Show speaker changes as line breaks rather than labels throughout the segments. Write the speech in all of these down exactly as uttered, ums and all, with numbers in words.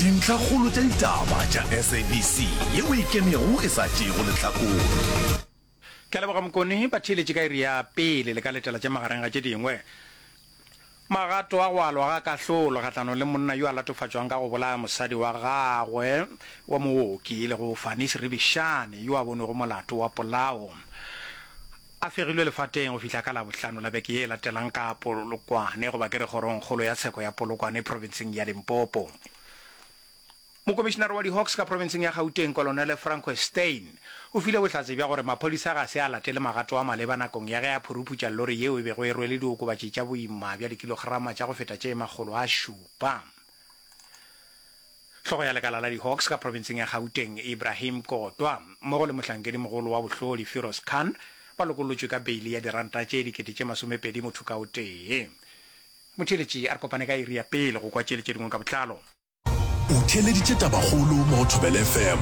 Dintlhakgolo tša ditaba tša S A B C yeo e ikemego e sa tšeego lehlakore.
Ke a leboga Mokone, batheeletši ka iri ya pele le ka letela tše magareng ga tše dingwe. Magato a go alwa ga kahlolo kgahlanong le monna yo a latofatšwang ka go bolaya mosadi wa gagwe wa mooki e lego Fanis Ribishane yo a bonwego molato wa polao a fegilwe lefateng go fihla ka Labohlano la beke ye e latelang ka Polokwane goba ke re kgorongkgolo ya tsheko ya Polokwane profenseng ya Limpopo. Mokomišenare wa di-Hawks ka profenseng ya Gauteng, Kolonele Francois Steyn, o file bohlatse bja gore maphodisa ga se a latele magato a maleba nakong ya ge a phuruphutša lori yeo e bego e rwele diokobatši tša boima bja dikilograma tša go feta tše makgolo a šupa. Hlogo ya lekala la di-Hawks ka profenseng ya Gauteng, Ibrahim Kotwa, mmogo le mohlankedimogolo wa bohlodi Firoz Khan, ba lokollotšwe ka beili ya diranta tše dikete tše masomepedi motho ka o tee. Motheeletši, a re kopane ka iri ya pele go kwa tše le tše dingwe ka botlalo.
O theeleditše Tabakgolo mo go Thobela F M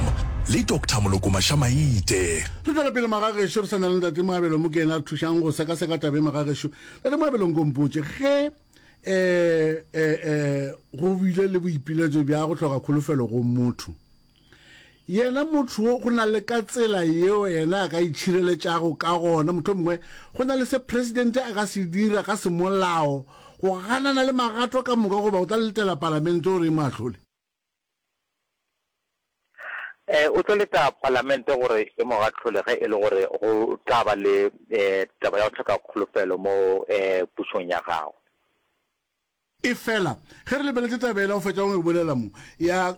le Doctor Moloko Mašamaite.
Re tšwela pele magagešo, re sa na le Ntate Moabelo mo ke yena a re thušang go sekaseka taba e magagešo. Ntate Moabelo, nko mpotše ge um um go bile le boipiletšo bja go hloka kholofelo go motho, yena motho wo go na le ka tsela yeo yena a ka itšhireletšago ka gona, motho mongwe go na le se presidente a ka se dira ka semolao go ganana le magato ka moka, goba o tla letela palamente gore e mo ahlole?
um o tlo leta palamente gore e mo gahlole ge e le gore go tla ba le um taba ya go hloka kholofelo mo um pušong ya gago.
E fela ge re lebeletše taba ela o fetša go e bolela mo ya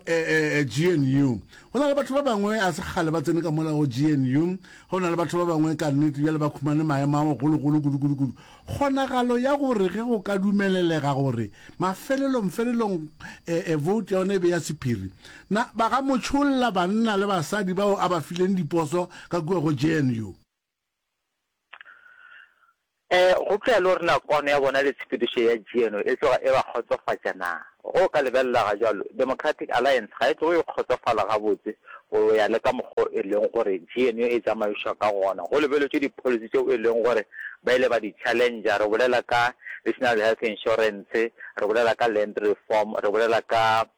G N U, go na le batho ba bangwe a se kgale ba tsene ka mola go G N U, go na le batho ba bangwe ka nnete bjale ba khumane maemo a magologolo kudu-kudu-kudu. Kgonagalo ya gore ge go ka dumelelega gore mafelelong felelong um vote ya yona e be ya sephiri, na ba ga mo tšholla banna le basadi bao a ba fileng diposo ka kua go G N U?
um go tloya le gore na kwano ya bona le tshepedišo ya G N U e tloga e ba kgotsofatša na. Go ka lebelela ga jalo, Democratic Alliance ga e tloge e kgotsofala gabotse go ya le ka mokgwa e leng gore G N U e tsamaišwa ka gona, go lebeletšwe di-policy tšeo e leng gore ba ile ba di challenge. Re bolela ka National Health Insurance, re bolela ka land reform, re bolela ka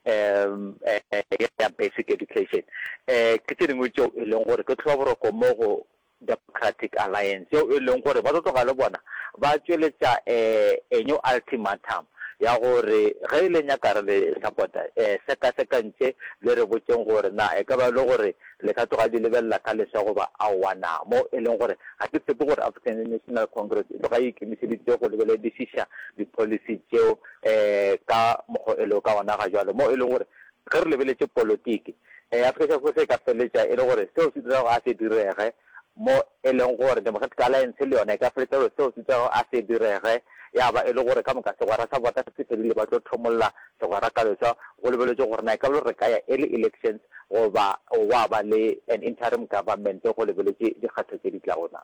um ya basic education. um ke tše dingwe tšeo e leng gore ke tlhoba boroko mo go Democratic Alliance, yeo e leng gore ba tlo tloga le bona ba tšweletša um a new ultimatum ya gore ge e le nyaka re le support-a, um sekasekantše le re botšeng gore na e ka ba le gore le ka tloga di lebelela ka leswa goba aowa na, mo e leng gore ga ke tshepe gore African National Congress e tloga e ikemišeditše go lebeledišiša di-policy tšeo um ka mokgwa e lego ka gona ga jwalo, mo e leng gore ge re lebeletše politiki um Afrika Borwa se ka feleletša e le gore seo se dirago a se direge, mo e leng gore Democratic Alliance le yona e ka feleletša gore seo se dirago a se direge, ya ba e le gore ka moka segwera sa bona se fedile, ba tlo thomolla segwera ka leswa, go lebeletše gore na e ka ba re ka ya early elections goba wa ba le an interim government go lebeletše dikgetho tše di tlago na.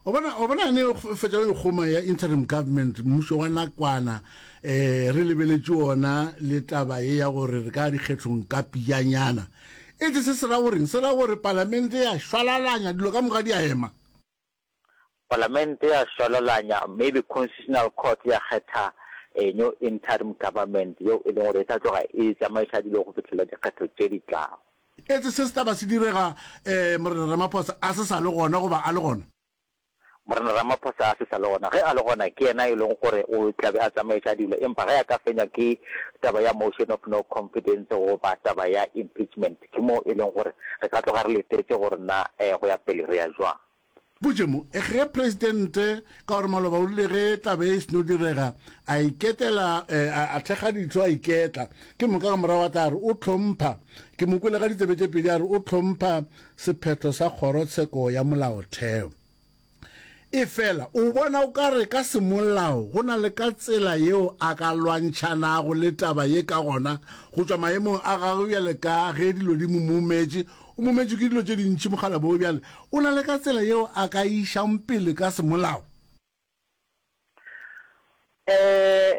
O bona, o bona ne fetša go kgoma ya interim government, mmušo wa nakwana, um re lebeletše ona le taba ye ya gore re ka dikgethong ka pijanyana. Etse se se ra goreng? Se ra gore palamente ya šwalalanya dilo ka moka di a ema?
Palamente ya šwalalanya, maybe Constitutional Court ya kgetha a new interim government yeo e leng gore e tla tloga e tsamaiša dilo go fihlela dikgetho tše di tlago.
Etse se se taba se direga um Morena Ramaphosa a se sa le gona goba a le gona?
Morena Ramaphosa a se sa le gona. Ge a le gona, ke yena e leng gore o tlabe a tsamaiša dilo, empa ge a ka fenywa ke taba ya motion of no confidence goba taba ya impeachment, ke mo e leng gore re ka tloga re letetše gore na um go ya pele re ya jwang.
Botše mo ge presidente ka gore maloba o rile ge taba e seno direga a iketela, a thekga ditho, a iketla, ke moka ka morago a tla re o tlhompha, ke mo kwele ka ditsebe tše pedi a re o tlhompha sephetho sa kgorotsheko ya molaotheo. E fela o bona o ka re ka semolao go na le ka tsela yeo a ka lwantšhanago le taba ye ka gona go tšwa maemong a gagwe bjale ka ge dilo di mo mometše, o mometše ke dilo tše dintši mokgalabo bjale, o na le ka tsela yeo a ka išang pele ka semolao?
um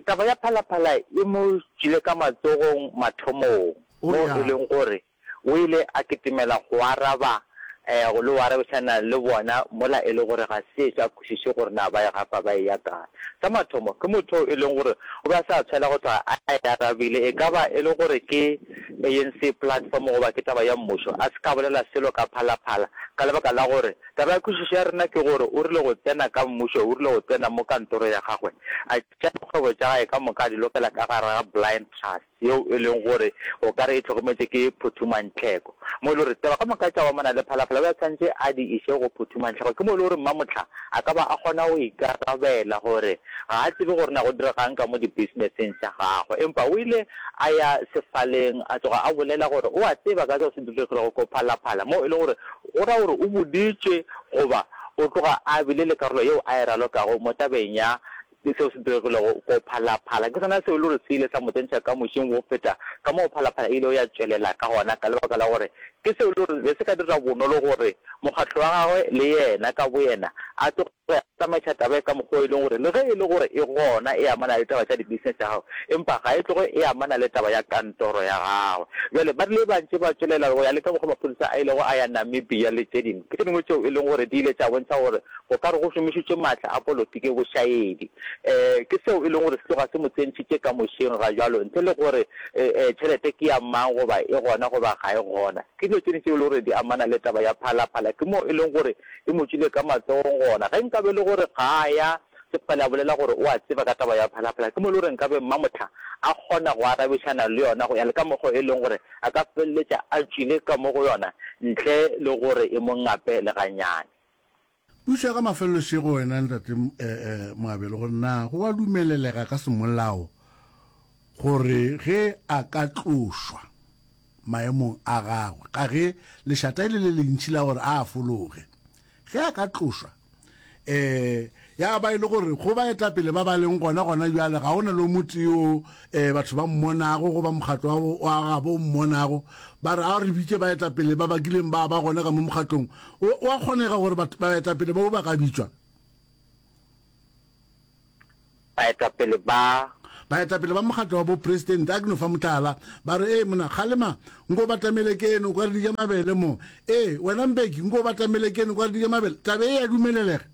taba ya Phalaphala e mo tšwile ka matsogong mathomong, mo e leng gore o ile a kitimela go araba um le go arabišana le bona mola e le gore ga se ešo a kwešiše gore na ba e gapa ba eya kae. Sa mathomo, ke motho yo e leng gore o be a sa tshwela go tloga a e arabile, e ka ba e le gore ke A N C platform goba ke taba ya mmušo, a se ka bolela selo ka Phalaphala ka lebaka la gore taba ya kwešišo ya rena ke gore o rile go tsena ka mmušo, o rile go tsena mo kantoro ya gagwe a tšea dikgwebo tša gae ka moka a di lokela ka gare ga blind trust yeo e leng gore o ka re e hlokometše ke Phuthumantlheko. Mo e le gore taba ka moka tša go amana le Phalaphala o be a tshwanetše a di iše go Phuthumantlheko. Ke mo e le gore Mmamohla a ka ba a kgona go ikarabela gore ga a tsebe gore na go diregang ka mo dibusinesseng tša gagwe. Empa o ile a ya sefaleng a tloga a bolela gore o a tseba ka seo se diregilego ko Phalaphala, mo e le gore go ra gore o boditšwe goba o tloga a bile le karolo yeo a e ralokago mo tabeng ya seo se diregilego ko Phalaphala. Ke sona seo e le gore se ile sa mo tsentšha ka mošing go feta ka moo Phalaphala e ilego ya tšwelela ka gona, ka lebaka la gore ke seo e le gore be se ka dira bonolo gore mokgatlo wa gagwe le yena ka boyena a tloge a tsamaiša taba ye ka mokgwa o e leng gore le ge e le gore e gona e amana le taba tša di-business tša gagwe, empa ga e tloge e amana le taba ya kantoro ya gagwe. Bjale ba rile ba ntše ba tšwelela go ya le ka mokgwa maphodisa a ilego a ya Namibia le tše dingwe. Ke tše dingwe tšeo e leng gore di ile tša bontšha gore go ka re go šomišitšwe maatla a polotiki bošaedi. Um ke seo e leng gore se tloga se mo tsentšhitše ka mošeng ga bjalo ntle le gore tšhelete ke ya mang goba e gona goba ga e gona. Ke dilo tše dingwe tšeo e leng gore di amana le taba ya Phalaphala. Ke moo e leng gore e mo tšwile ka matsogong gona. Ge nkabe e le gore ga a ya Sefale a bolela gore o a tseba ka taba ya Phalaphala, ke mo e le gore nkabe Mmamohla a kgona go arabišana le yona go ya le ka mokgwa e leng gore a ka feleletša a tšwile ka mo go yona ntle le gore e mo ngape le gannyane.
Pušo ya ka mafelelo šego wena Ntate Moabelo gore na go a dumelelega ka semolao gore ge a ka tlošwa maemong a gagwe ka ge lešata e le le lentši la gore a fologe ge a ka tlošwa um ya ba e le gore go baetapele ba ba leng gona gona bjale ga go na le o motee yo um batho ba mmonago goba mokgatlo wa gabo o mmonago ba re a re bitše baetapele ba ba kileng ba ba gona ka mo mokgatlong o a kgonega gore baetapele bao ba ka bitšwa
Baetapele ba.
Baetapele ba mokgatlo wa bopresidente, a ke no fa mohlala, ba re, Ee, mona, kgalema, nko o batamele keno, kwa re di ja mabele mo. Ee, wena Mbeki, nko o batamele keno, kwa re di ja mabele. Taba e ya dumelelega.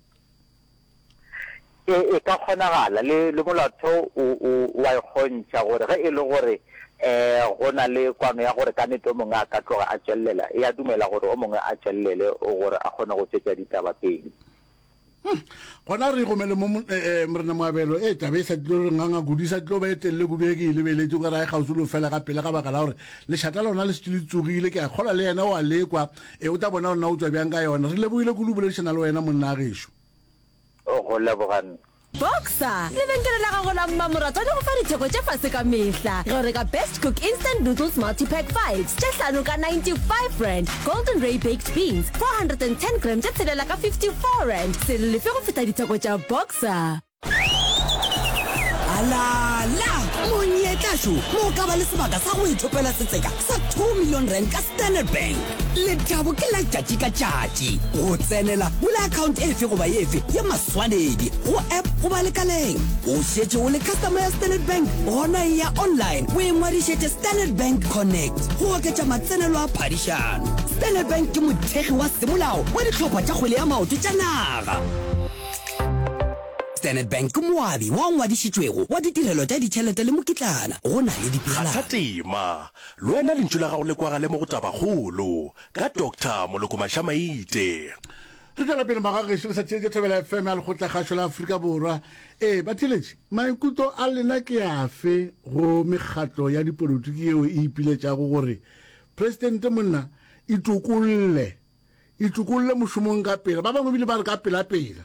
E, e ka kgonagala, le, le molaotheo o, o, o a e kgontšha, gore ge e le gore um go na le kwano ya gore ka nnete o mongwe a ka tloga a tšwelela, e a dumela gore o mongwe a tšwelele gore a kgone go tšwetša ditaba pele.
Hmm. Gona re gomele mo eh, eh, Morena Moabelo, e taba e sa tlo re nganga kudu, e sa tlo ba e telele kudu e ke e lebeletše o ka re a e kgauswi le go fela ga pele ka baka la gore lešata lona le šetše le tsogile. Ke a kgolwa le yena o a lekwa, e o tla bona gore na o tšwa bjang ka yona. Re lebogile kudu go boledišana le wena monna gešo.
Go leboga nna.
Boxer, lebenkele la gago la mmamoratwa le go fa ditheko tše fase ka mehla ge o reka Best Cook Instant Noodles Multipack Fives tše hlano ka ninety five rand, Golden Ray Baked Beans four hundred and ten gram tše tshelela ka fifty four rand. Se lefe go feta ditheko tša Boxer.
Alala! Monyetla šo mo o ka ba le sebaka sa go ithopela setseka sa two million rand ka Standard Bank. Lethabo ke la tšatši ka tšatši. Go tsenela, bula account efe goba efe ya maswanedi go app goba lekaleng. O šetše o le customer ya Standard Bank? Gona eya online o ingwadišetše Standard Bank Connect go oketša matsenelo a phadišano. Standard Bank ke mothekgi wa semolao wa dihlopha tša kgwele ya maoto tša naga. Standard Bank ke moabi wa ngwadišitšwego wa ditirelo tša ditšhelete le mokitlana go na le dipeelano.
Kgatha tema, le wena lentšu la gago le kwagale mo go Tabakgolo ka Doctor Moloko Mashamaite.
Re tšwela pele magagešo le sa theetše Thobela F M ya Lekgotlakgašo la Afrika Borwa. Ee, batheeletši, maikutlo a lena ke afe go mekgatlo ya dipolotiki yeo e ipiletšago gore Presidente monna itokolle, itokolle mošomong ka pela, ba bangwe bile ba re ka pelapela.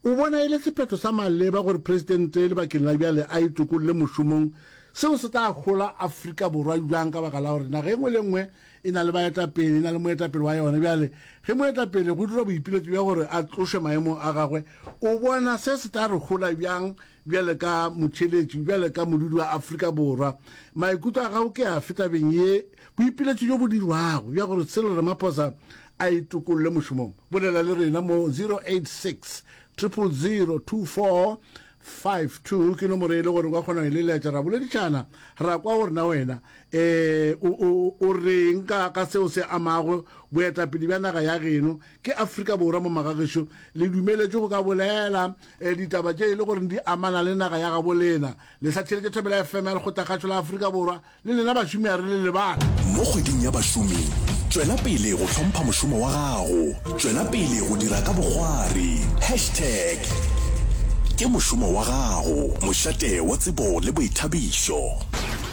O bona e le sephetho sa maleba gore Presidente lebakeng la bjale a itokolle mošomong? Seo se tla hola Afrika Borwa bjang ka baka la gore naga e nngwe le e nngwe e na le baetapele, e na le moetapele wa yona. Bjale ge moetapele go dirwa boipiletšo bja gore a tlošwe maemong a gagwe, o bona se se tla re hola bjang bjale ka motheeletši, bjale ka modudi wa Afrika Borwa? Maikutlo a gago ke afe tabeng ye? Boipiletšo bjo bo dirwago bja gore Cyril Ramaphosa a itokolle mošomong? Bolela le rena mo zero eight six, triple zero, two four five two ke nomoro e le gore o ka kgona go e leletša ra boledišana ra kwa gore na wena um o, o, o reng ka, ka seo se amago boetapele bja naga ya geno ke Afrika Borwa mo magagešo le dumeletšwe go ka bolela um ditaba tše e le gore di amana le naga ya gabo lena le sa theeletše Thobela F M ya Lekgotlakgašo la Afrika Borwa le lena bašomi a re le lebala.
Mo kgweding ya bašomi, tšwela pele go hlompha mošomo wa gago. Tšwela pele go dira ka bokgwari. Hashtag ke mošomo wa gago, mošate wa tsebo le boithabišo.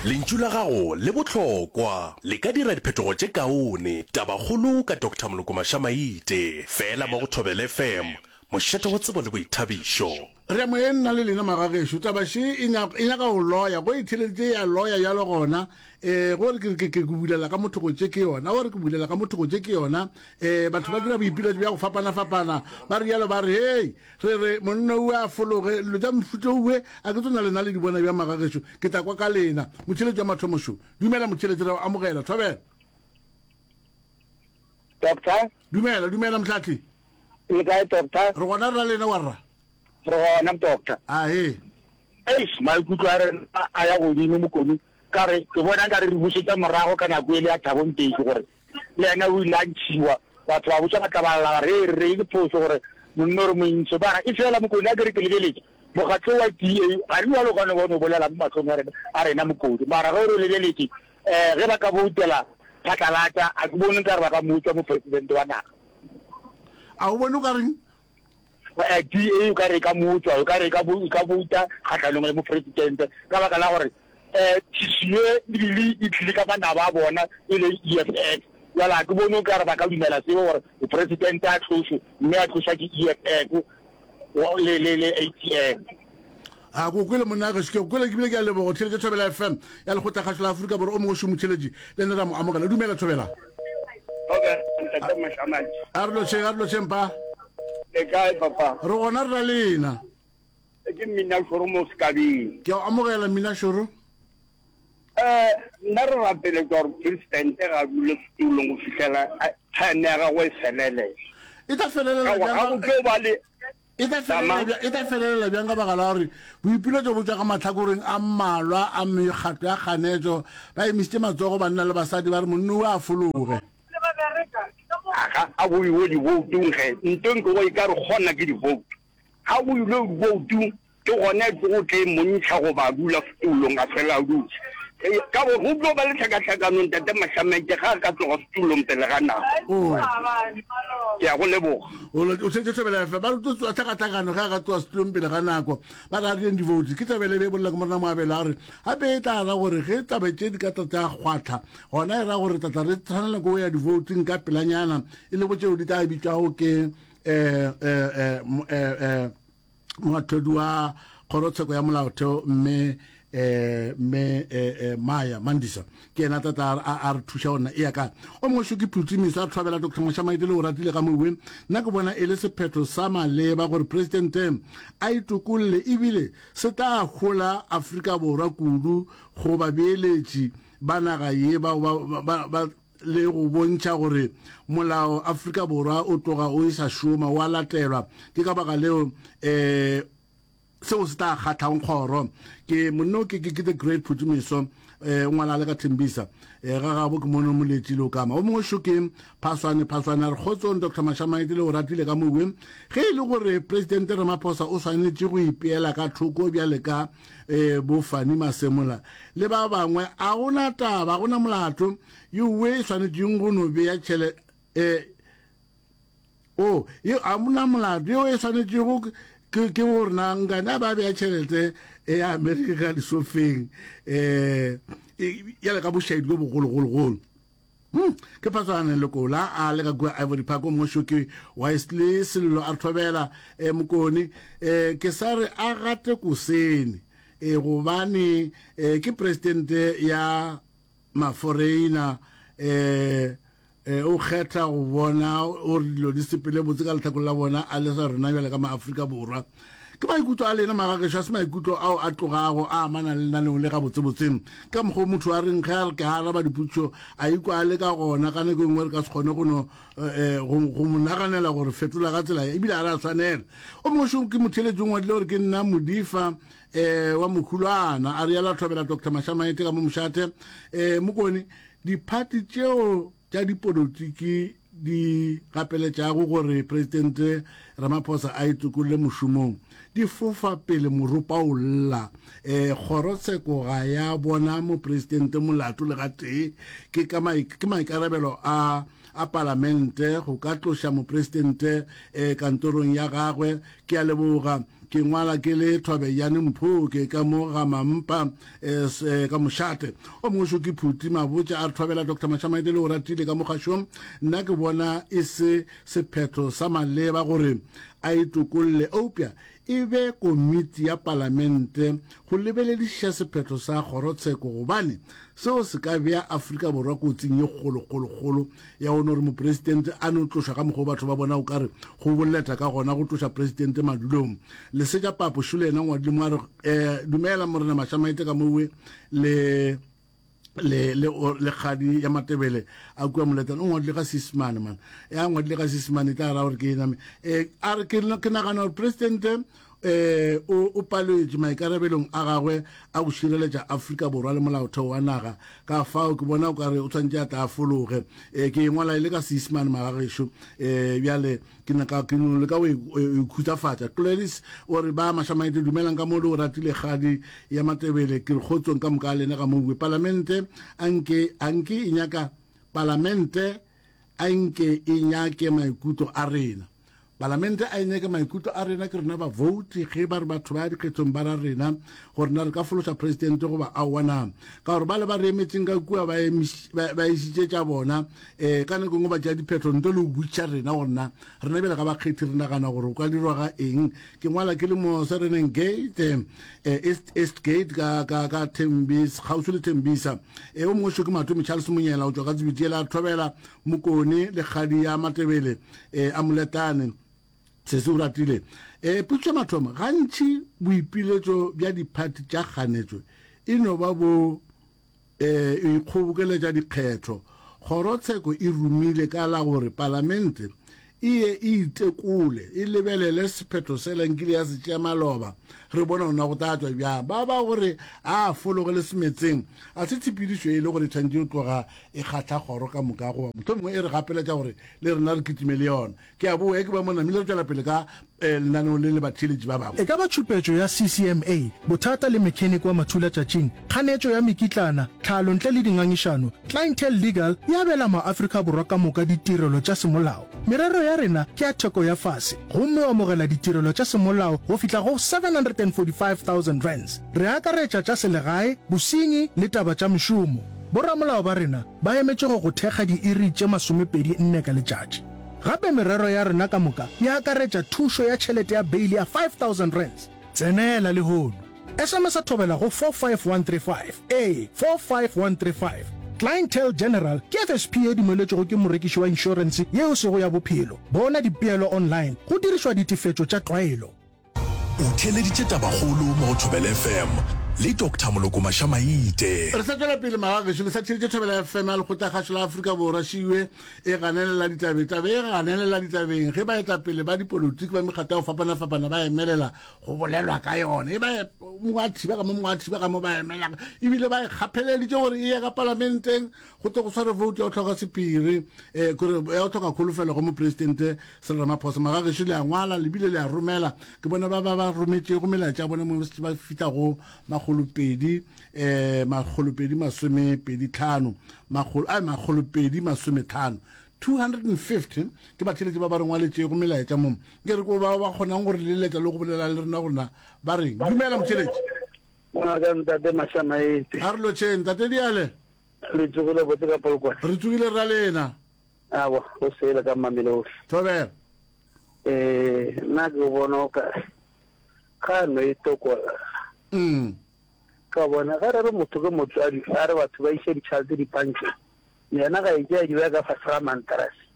Lentšu la gago le bohlokwa, le ka dira diphetogo tše kaone. Tabakgolo ka Doctor Moloko Mashamaite, feela mo go Thobela F M, mošate wa tsebo le boithabišo.
Re a moyeng nna le lena magagešo, taba še e nyaka, e nyaka go loya, go e theleditše ya loya bjalo gona, eh, go re ke, ke, ke bulela ka motho go tše ke yona, go re ke bulela ka motho go tše ke yona, eh, batho ba dira boipiletšo bja go fapana-fapana, ba re bjalo ba re, hei, re re monna owe a fologe, dilo tša mofuta owe, a ke tsona lena le di bona bjang magagešo, ke tla kwa ka lena. Motheeletši wa mathomo šo. Dumela motheeletši, re a o amogela, thobela.
Doctor?
Dumela, dumela mohlahli.
Le kae doctor?
Re gona re na lena warra.
Re gona doctor.
Ahe.
Eish, maikutlo a rena a ya godimo Mokoni, ka re ke bona nka re re bušetša morago ka nako ele ya Thabo Mbeki gore le yena o ile a ntšhiwa, batho ba botša ba tla ba lla ba re re re ke phošo gore monna o re mo ntšhe, mara e fela Mokoni a ke re ke lebeletše mokgatlo wa D A ga re bjalo ka no ba no bolela mo mahlong a rena a rena Mokoni, mara ge o re lebeletše um ge ba ka boutela phatlalatša a ke bone nka re ba ka mo utswa mopresidente wa naga.
A o bone o ka reng?
D A o ka re e ka mo utswa, o ka re e ka bouta kgahlanong le mopresidente ka baka la gore um tšhišinyo e ebile e tlile ka manaba a bona e le E F F. Bjale ga ke bone o ka re ba ka dumela seo gore mopresidente a tlošwe mme a tlošwa ke E F F le, le, le A T M.
A ko kwele monna gešo, ke go kwele ke bile ke a leboga. O theeletše Thobela F M ya Lekgotlakgašo la Afrika Borwa, o mongwe šo motheeletši le nna ra mo amogela. Dumela Thobela.
Thobela ntate Mošamantši.
A re lotšheng, a re lotšheng pa.
Le kae papa?
Re gona re na lena.
Ke Mmina Šoro mo Sekabeng.
Ke a o amogela Mmina Šoro.
Eh, nna re rapeletša gore presidente ga a dule setulong go fihlela time ya gagwe e felelela.
E tla felelela
Ka gore
bjang
ga
ka
go tlo ba le
E tla
Tama.
felelela bjang, e tla felelela bjang ka baka la gore boipiletšo bo tšwa ka mahlakoreng a mmalwa a mekgatlo ya kganetšo, ba emišitše matsogo banna le basadi ba re monna o a fologe.
Ga a go iwe diboutung ge, ntweng ke go e ka re kgona ke diboutu. Ga go ilwe diboutung ke gona e tlogo tle montšha goba a dula setulong a fela a dutše. Ka gore go tlo ba le tlhakatlhakano ntate Mašamaite ga a ka tloga setulong pele ga nako. Ke a go leboga.
O o tšhetše Thobela F M ba re tlo tsoa tlhakatlhakano ge a ka tloga setulong pele ga nako. Ba re a reng di-vote. Ke Thobela e be e bolela ke Morena Moabelo a re gape e tla ra gore ge taba tše di ka tla tša kgwahla gona e ra gore tla tla re tshwanela ke go ya di-voting ka pelanyana e lego tšeo di tla bitšwago ke eh, eh, eh, eh, eh, moahlodi wa kgorotsheko ya molaotheo mme eh, mme eh, eh, Maya Mandisa ke yena tla tla a, a re thuša gona e ya ka o mongwe šo ke Phutimiso a thobela Doctor Mošamaite le o ratile ka mowe. Nna ke bona e le sephetho sa maleba gore presidente a itokolle ebile se tla hola Afrika Borwa kudu go babeeletši ba naga ye bao ba, ba, ba le go bontšha gore molao Afrika Borwa o tloga o e sa šoma wa latelwa. Ke ka baka leo eh seo se tla kgatlhang kgoro. Ke monno ke ke the great Phutimiso eh o ngwala le ka Thembisa eh ga gabo ke mono moletši le o kama. O mongwe šo ke Phaswane, Phaswane a re kgotsong Doctor Mashamaite le o ratile ka mowe. Ge e le gore Presidente Ramaphosa o swanetše go ipeela ka thoko bjale ka eh bo Fannie Masemola le ba bangwe, a gona taba, a gona molato yowe e swanetšeng go no bea tšhele eh o ye a mona molato yo e swanetšego ke ke gore na nkane a ba bea tšhelete ya Amerika ka disofeng eh ya le ka bošaedi bo bogologologolo. Hmm, ke Phatswane Lekola a le ka kua Ivory Park. O mongwe šo ke Wesley Sello a thobela eh, Mokone eh, ke sa re a gate kosene eh, gobane eh, ke presidente ya maforeina eh, eh, o kgetha go bona gore dilo di sepele botse ka lehlakore la bona a le sa rena bjale ka maAfrika Borwa. Ke maikutlo a lena magagešo, a se maikutlo ao a tlogago a amana le lenaneo le gabotsebotse. Ka mokgwa o motho a reng ge a re ke a araba dipotšišo a ikwa a le ka gona, ka nako e nngwe re ka se kgone go no go, go mo naganela gore fetola ka tsela ye, ebile ga re a swanela. O mongwe šo ke motheeletši o ngwadile gore ke nna Modifa um wa Mokhulwana, a realo a thobela Doctor Mashamaite ka mo mošate. Um Mokone, diphathi tšeo tša dipolotiki di gapeletšago gore Presidente Ramaphosa a itokolle mošomong di fofa pele moropa o lla. E, kgorotsheko ga ya bona Mopresidente molato le gatee. Ke ka ke maikarabelo a a Palamente go ka tloša Mopresidente e, kantorong ya gagwe. Ke a leboga. Ke ngwala ke le Thobejane Mphoke ka mo ga Mampa eh, ka mošate. O mongwe šo ke Phuti Mabotja a re thobela Doctor Mashamaite le o ratile ka mo kgašong. Nna ke bona e se sephetho sa maleba gore a itokolle eupša e be komiti ya palamente go lebeledišiša sephetho sa kgorotsheko gobane seo se ka bea Afrika Borwa kotsing ye kgolokgolokgolo ya go no re mopresidente a no tlošwa ka mokgwa o batho ba bona o ka re go boleta ka gona go tloša presidente madulong. Lesetša Papo Šole yena ngwadile mo a re, eh, Dumela Morena Mashamaite ka mowe le le le le kgadi ya Matebele a kua Moletane. O ngwadile ka Seesemane man. Ya ngwadile ka Seesemane e tla ra gore ke ena. Eh, a re ke ke nagana gore presidente eh o o paletše maikarabelong a gagwe a go šireletša Afrika Borwa le molaotheo wa naga. Ka fao ke bona o ka re o tshwanetše a tla a fologe. Eh, ke e ngwala e le ka Seesemane magagešo. Eh, bjale ke nyaka ke no leka go e khutsafatša. Gladys o re ba Mashamaite dumelang ka mo le o ratile kgadi ya Matebele ke re kgotsong ka moka a lena ga moue. Palamente a nke a nke e nyaka Palamente a nke e nyake maikutlo a rena. Palamente a e nyake maikutlo a rena, ke rena bavouti. Ge ba re batho ba ya dikgethong ba ra rena gore na re ka fološa presidente goba aowa na. Ka gore bale ba re emetseng ka kua ba ba išitše tša bona, um ka nako e nngwe ba tšea diphetho ntle le go botšiša rena gore na rena bjale ga bakgethi re nagana gore go ka dirwa ga eng. Ke ngwala ke le mo Sereneng Gate, eh, East, East Gate ka, ka, ka Thembisa, kgauswi le Thembisa. E o mongwe šo ke Matome Charles Monyela o tšwa ka Tsebitiela a thobela Mokone le kgadi ya Matebele eh, a Moletane. Sesi o ratile. Eh, potšišo ya mathomo, gantši boipiletšo bja diphathi tša kganetšo e no ba bo eh, ikgobokeletša dikgetho. Kgorotsheko e rumile ka la gore palamente e ye e itekole, e lebelele sephetho sela nkile ya se tšea maloba, re bone gore na go tla tšwa bjang. Ba ba gore a fologe le semetseng, a se tshepedišo e le gore e tshwanetše go tloga e kgahla kgoro ka moka goba mohlomongwe e re gapeletša gore le rena re kitime le yona. Ke a boa, ke ba mo namile re tšwela pele ka lenaneo le le batheeletši ba bangwe.
E ka ba tšhupetšo ya C C M A, bothata le mechanic wa mathulatšatšing, kganetšo ya mekitlana, tlhalo ntle le dingangišano, Clientele Legal e abela maAfrika Borwa ka moka ditirelo tša semolao. Merero ya rena ke ya theko ya fase gomme o amogela ditirelo tša semolao go fihla go seven hundred and forty five thousand rands. Re akaretša tša selegae, bosenyi le taba tša mešomo. Boramolao ba rena ba emetše go go thekga diiri tše masomepedi nne ka letšatši. Gape merero ya rena ka moka e akaretša thušo ya tšhelete ya beili ya five thousand rands. Tsenela lehono. S M S a thobela go four five one three five. Ee, four five one three five. Clientele General ke F S P ye dumeletšwego ke morekiši wa inšorense ye e sego ya bophelo. Bona dipeelo online go dirišwa ditefetšo tša tlwaelo.
O theeleditše Tabakgolo mo go Thobela F M le Doctor Moloko Mashamaite.
Re sa tšwela pele magagešo, le sa theeditše Thobela F M ya Lekgotlakgašo la Afrika Borwa. Šiwe e ganelela ditabeng, taba e ganelela ditabeng ge baetapele ba dipolotiki ba mekgatlo ya go fapana-fapana ba emelela go bolelwa ka yona. E ba mongwe a thiba ka mo, mongwe a thiba ka mo, ba emela ebile ba e kgapheleditše gore e ye ka palamenteng go tle go sware vote ya go hloka sephiri, eh, kore ya go hloka kholofelo go mopresidente Cyril Ramaphosa. Magagešo le a ngwala le bile le a romela, ke bona ba ba ba rometšego melaetša ya bona mo ba fihla go makgolopedi, eh, makgolopedi masomepedi tlhano, makgolo, ai, makgolopedi masometlhano, two hundred and fifty ke batheeletši ba ba re ngwaletšego melaetša mo. Ke re ko ba ba kgonang go re leletša le go bolela le rena gore na ba reng. Dumela motheeletši.
Ngaka ntate Mashamaite.
A re lotšheng ntate Diale.
Le tsogile botse ka Polokwane?
Re tsogile rra lena.
Awa, go sele ka Mamelodi.
Thobela.
Eh, nna ke bona o ka ga no e tokolla.
Mm.
Ka bona ga re re motho ke motswadi, a re batho ba iše ditšhelete dipankeng. Yena ga e tšea di beya ka fase ga mantrase.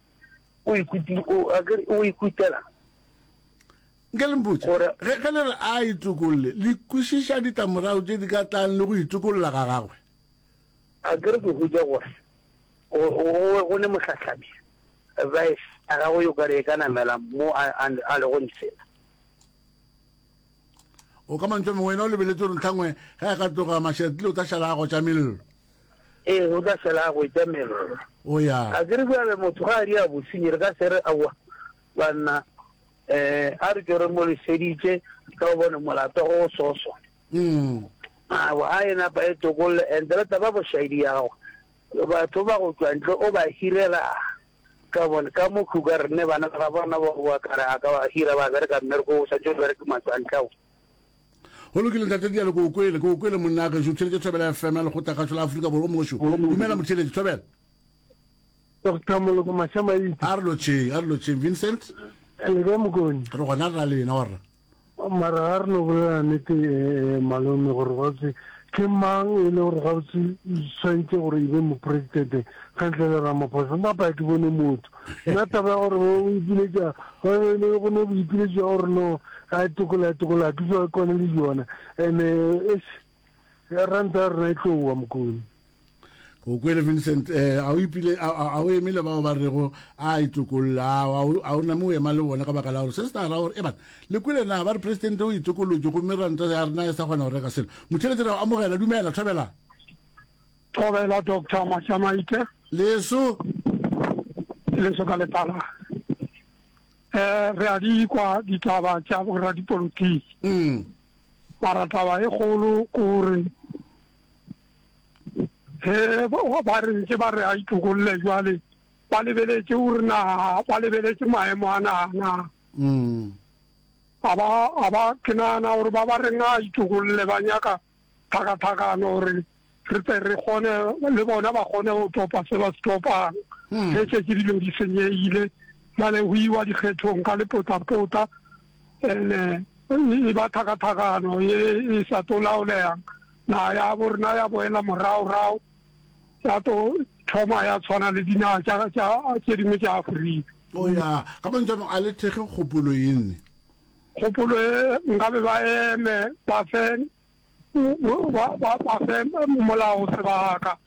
O ikuti o akere o ikutela.
Nke le mpotše, ge, ge le re a itokolle, le kwešiša ditlamorago tše di ka tlang le go itokolla ga gagwe?
A ke re ke hwetša gore go, go, go ne mohlahlami, vice, ya gagwe yo ka re e ka namela mo a, a, a lego ntsena.
O ka mantšu a mangwe, wena o lebeletše gore ntlhangwe ge a ka tloga Mashatile o tla šala a gotša mello.
Ee, o tla šala a gotša mello.
O ya.
A ke re bjale motho ga a di a bosenyi, re ka se re aowa banna, eh, a re tšo re mo leseditše ka gobane molato go so so.
Mm.
Aowa, a e napa e tokolle and le taba bošaedi ya gagwe, batho ba go tšwa ntle o ba hirela ka gobane ka mo Kruger re ne bana ba gabo rena ba boa ka re a ka ba hira ba bereka mmereko o santše o bereke matšwantle ao.
Go lokile ntate Dialo, ke o kwele, ke o kwele monna gešo, o theeletše Thobela F M ya Lekgotlakgašo la Afrika Borwa, o mongwe šo. Dumela motheeletši, Thobela.
Doctor Moloko Mašamaite.
A re lotšheng, a re lotšheng. Vincent.
Le kae Mokoni?
Re gona re ra lena warra.
Mara ga re no bolela nnete eh, malome gore gabotse ke mang e le gore gabotse swantše gore e be mopresidente ka ntle le Ramaphosa. Nna pa ke bone motho. Nna taba ya gore o ipiletša go ne boipiletšo ya gore no a tokola a tokola ke so kwane le yona. Ene eish ranta ya rena e tlo wa Mokoni.
O kwele Vincent, eh, a o ipile, a, a, a o eme le bao ba rego a itokolla, a, a, a o name o ema le bona ka baka la gore se se tla ra gore, e bana, le kwele na ba re presidente o itokolotše gomme ranta ya rena e sa kgona go reka selo. Motheeletši re a o amogela, dumela, thobela.
Thobela Doctor Mashamaite.
Leso.
Leso ka letala. Eh, re a di kwa ditaba tša boradipolotiki.
Mm.
Mara taba e kgolo ke gore ge ba re ntše ba re a itokolle jwale ba lebeletše gore naga ba lebeletše maemo a naga na.
Mm.
A ba, a ba, ke nagana gore ba ba reng a itokolle ba nyaka tlhakatlhakano gore re tle re kgone le bona ba kgone go topa se ba se topang.
Mm.
Ge šetše dilo di senyegile bjale go iwa dikgethong ka lepotlapotla, ene e ba tlhakatlhakano ye e sa tlo laolegang. Naga ya bo rena ya boela moragorago ya tlo thoma ya tshwana le dinaga tša, tša, tše dingwe tša Afrika.
O ya, ka mantšu a mangwe, a le thekge kgopolo ye nne.
Kgopolo ye nkabe ba eme ba fe, ba, ba, ba fe molao sebaka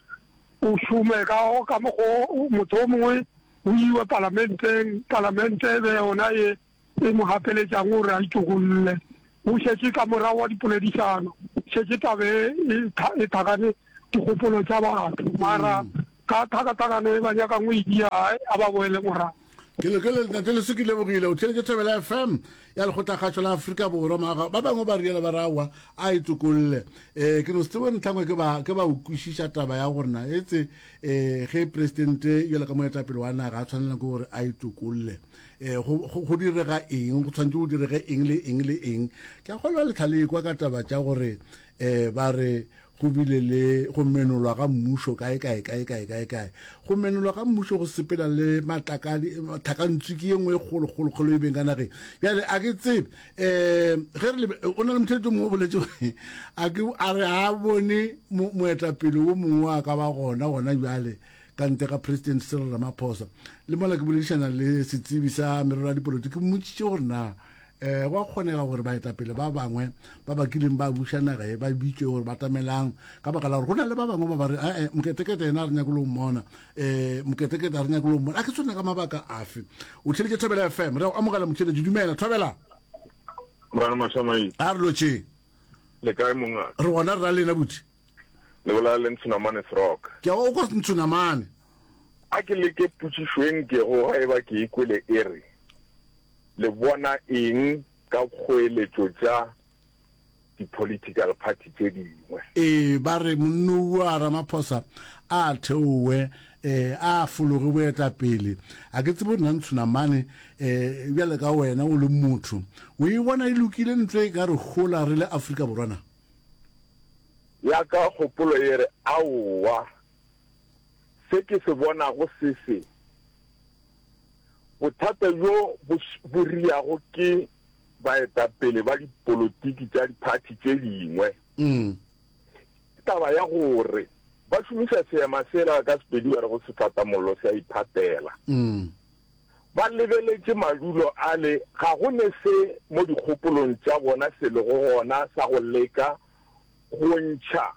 o šome ka, ka mokgo motho o mongwe o iwe palamenteng, palamente e be yona ye e mo gapeletšang gore a itokolle. Go šetše ka morago wa dipoledišano, šetše taba e, e tha-, e thakane dikgopolo tša batho. Mara ka tlhakatlhakano e ba nyakang go e dia, ai, a ba boele morago.
Ke le, ke le, Ntate Leso, ke lebogile. O theeletše Thobela F M ya Lekgotlakgašo la Afrika Borwa. Maga, ba bangwe ba riela ba re aowa, a itokolle. Eh, ke no se tsebe ntlhangwe ke ba, ke ba o kwešiša taba ya gore na etse, eh, ge presidente bjalo ka moetapele wa naga a tshwanela ke gore a itokolle. Eh, go, go, go direga eng, go tshwanetse go direge eng le eng le eng. Ke a kgolwa le tlhale kwa ka taba tša gore, eh, ba re go bile le go menolwa ga mmušo kae, kae, kae, kae, kae, kae. Go menolwa ga mmušo go sepela le matlakadi, tlhakantswiki ye nngwe e kgolo, kgolo, kgolo e beng ka nageng. Bjale, a ke tsebe, eh, ge re lebe, o na le motheletši o mongwe o boletše gore, a ke, a re a bone mo-, moetapele wo mongwe a ka ba gona, gona bjale, ka ntle ga President Cyril Ramaphosa. Le mola ke boledišana le setsebi sa merero ya dipolotiki, ke mmotšiše gore na, eh, go a kgonega gore baetapele ba bangwe ba ba kileng ba buša naga e ba bitšwe gore ba tamelang, ka baka la gore go na le ba bangwe ba ba re, eh, eh, Moketekete yena a re nyake le go mmona, eh, Moketekete a re nyake le go mmona. A ke tshwane ka mabaka afe? O theeletše Thobela F M, re a go amogela motheeletši. Dumela, Thobela.
Morena Mašamaite.
A re lotšheng.
Le kae mongaka?
Re gona, re ra lena buti.
Le bolela le Ntshonamane Srock.
Ke a o kwa Ntshonamane.
A ke leke potšišo e nkego ga e ba ke e kwele e re, le bona eng ka kgoeletšo tša di-political party tše dingwe?
Ee, ba re monnoua Ramaphosa a theowe, eh, a fologe boetapele. A ke tsebe gore na Ntshonamane, eh, bjale ka wena o le motho, o e bona e lokile ntlo e ka re hola re le Afrika Borwa na?
Ya ka kgopolo e re, Aowa, se ke se bonago se se. Bothata bjo bo, bo riago ke baetapele ba dipolotiki tša diphathi tše dingwe.
Mm.
Ke taba ya gore ba šomiša seema sela ka Sepedi ba rego sefatamollo se a iphatela.
Mm.
Ba lebeletše madulo ale, ga go ne se mo dikgopolong tša bona se lego gona sa go leka go ntšha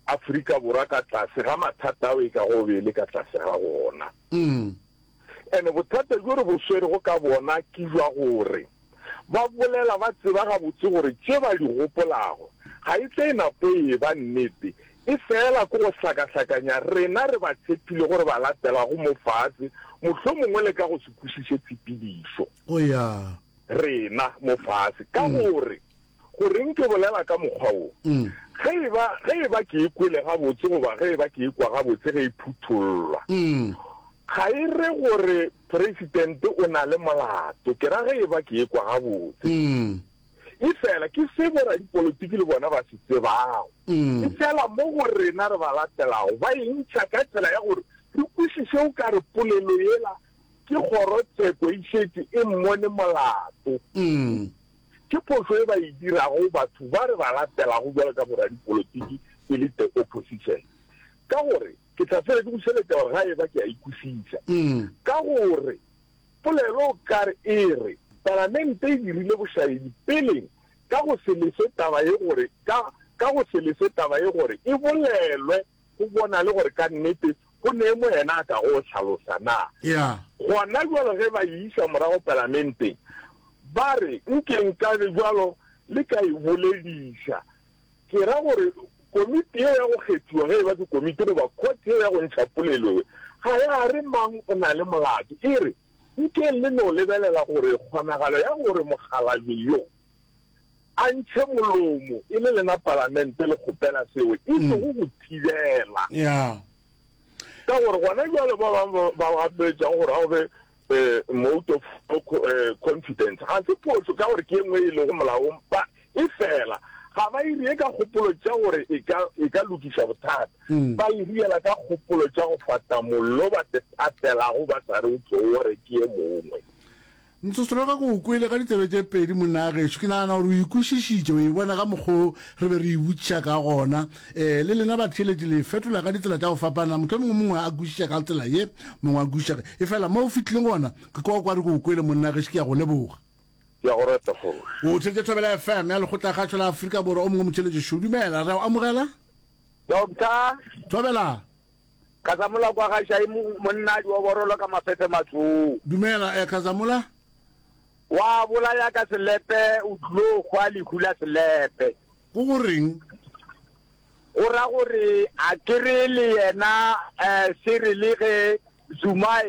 Afrika Borwa ka tlase ga mathata ao e kago be e le ka tlase ga gona. Ene bothata bjo re bo swerego ka bona ke bja gore ba bolela ba tseba gabotse gore tše ba di gopolago ga e tle napo e eba nnete, e feela ke go hlakahlakanya rena re ba tshepilego re ba latelago mo fase, mohlomongwe le ka go se kwešiše tshepedišo.
Go ya.
Rena mo fase. Ka gore, goreng ke bolela ka mokgwa wo? Ge e ba, ge e ba ke e kwele gabotse goba ge e ba ke e kwa gabotse ge e phuthollwa, ga e re gore Presidente o na le molato, ke ra ge e ba ke e kwa gabotse. Efela ke se boradipolotiki le bona ba se tsebago. Efela mo go rena re ba latelago ba e ntšha ka tsela ya gore re kwešiše o ka re polelo yela ke kgorotsheko e šetše e mmone molato. Ke phošo e ba e dirago batho ba re ba latelago bjalo ka boradipolotiki e le the opposition. Ka gore, ke tla fela ke bušeletša gore ga eba ke a e kwešiša. Ka gore polelo o ka re e re Palamente e dirile bošaedi peleng ka go se lese taba ye gore ka ka go se lese taba ye gore e bolelwe go bonale gore ka nnete go ne mo yena a kago hlalosa na.
Yeah.
Gona bjalo ge ba e iša morago Palamenteng ba re nke nkabe bjalo le ka e bolediša. Ke ra gore komiti yeo ya go kgethiwa ge eba ke komiti goba court yeo ya go ntšha polelo ye ga ya re mang o na le molato e re Nkeng le no lebelela gore kgonagalo ya gore mokgalabje yo a ntšhe molomo e le lena Palamente le kgopela seo, e sego go thibela. Ka gore gona bjale ba bangwe ba gapeletšago gore a go be mote of no confidence ga se phošo ka gore ke e nngwe e lego molaong, efela ga ba e rie ka kgopolo tša gore e ka, e ka lokiša bothata. Ba e riela ka kgopolo tša go fata mollo ba se patelago ba sa re o tlo o re ke ye mongwe.
Ntsosologa ke o kwele ka ditsebe tše pedi monna gešo. Ke nagana gore o e kwešišitše, o e bona ka mokgwa o re be re e botšiša ka gona. E, le lena batheeletši le e fetola ka ditsela tša go fapana. Mohlomongwe mongwe a kwešiša ka tsela ye, mongwe a kwešiša. Efela mo o fihlileng gona, ke kwa o ka re ke o kwele monna gešo, ke a go leboga.
Ke a go reta, Kgoši.
O theetša Thobela F M ya Lekgotlakgašo la Afrika Borwa. O mongwe motheeletši šo. Dumela, re a o amogela.
Doctor.
Thobela.
Khazamula kwa ga Shai monna dioborolo ka mafefe matsong.
Dumela, eh, Khazamula.
Wa bolaya ka selepe o tlilo hwa lehu la selepe.
Go go reng?
Go ra gore a ke re le yena eh, Cyril ge Zuma